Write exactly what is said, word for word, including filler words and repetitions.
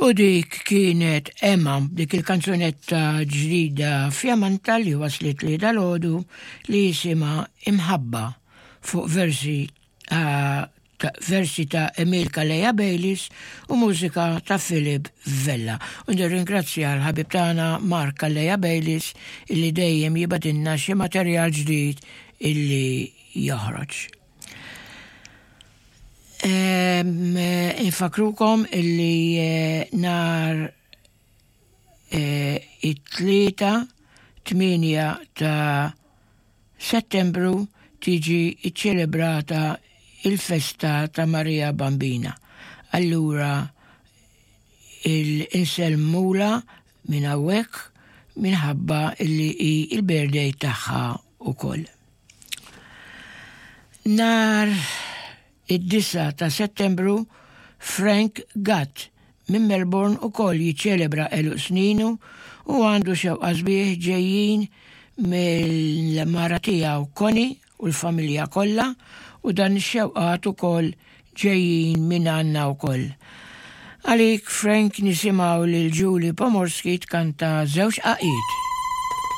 U dik kienet Emma, dik il-kanzunetta ġdida fjamanta li waslet li dalgħodu li jisimha Imħabba fuq versi uh, ta' versi ta' Emil Calleja Bayliss u mużika ta' Philip Vella. U nirringrazzja l-ħabib tagħna Mark Calleja Bayliss illi dejjem jibgħatilna xi materjal ġdid illi joħroġ. Infakrukom illi eh, nhar eh, it-tlieta tmienja ta' Settembru tiġi iċċelebrata il-festa ta' Maria Bambina. Allura insellmulha minn hawnhekk minħabba illi hi il-birthday tagħha ukoll. Nhar id-disgħa ta' Settembru, Frank Gatt minn Melbourne ukoll jiċċelebra għeluq sninu u għandu xewqa sbieħ ġejjin mill-mara tiegħu Connie u l-familja kollha u dan ix-xewqat ukoll ġejjin minn għandna wkoll. Għalik, Frank, nisimgħu lil Julie Pomorski tkanta żewġ għaqiet.